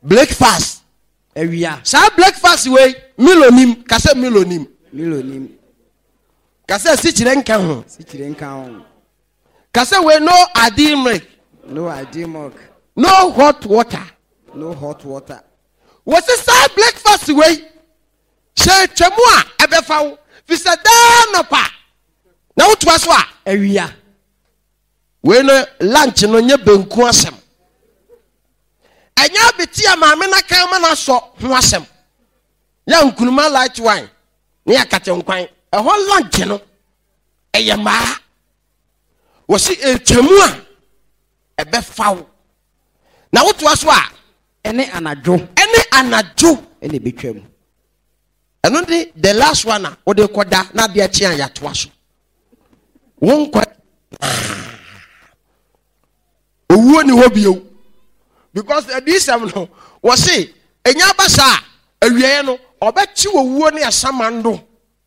Breakfast. Awia. Saa breakfast wei Milo nim. Ka sɛ Milo nim. Milo nim. Ka sɛ sikyire nka ho. Sikyire nka ho. Ka sɛ wei no adi milk. No adi milk. No hot water. No hot water. Wɔsi saa breakfast wei sɛ atwa mu a ɛbɛfa wo fi sɛ daa nɔpa na wotoa so a. Awia. Wei no lunch no nyɛ benku asɛm. Ɛnyɛ abeti a maame no aka ama no asɔ ho asɛm. Yɛ nkunuma light wine ne akate nkwan. Ɛhɔ lunch no ɛyɛ mmaa. Wɔsi etwa mu a ɛbɛfa wo. Na wotoa so a. Ɛne anadwo. Ɛne anadwo. Ɛna ebetwa mu. Ɛno de the last one a wode kɔda na adeɛ kye a yɛatoa so. Wo nkwa owuo ni hɔ bio because adiyisɛm no wɔse ɛnya aba saa awieɛ no ɔbɛkye owuo ne asamando.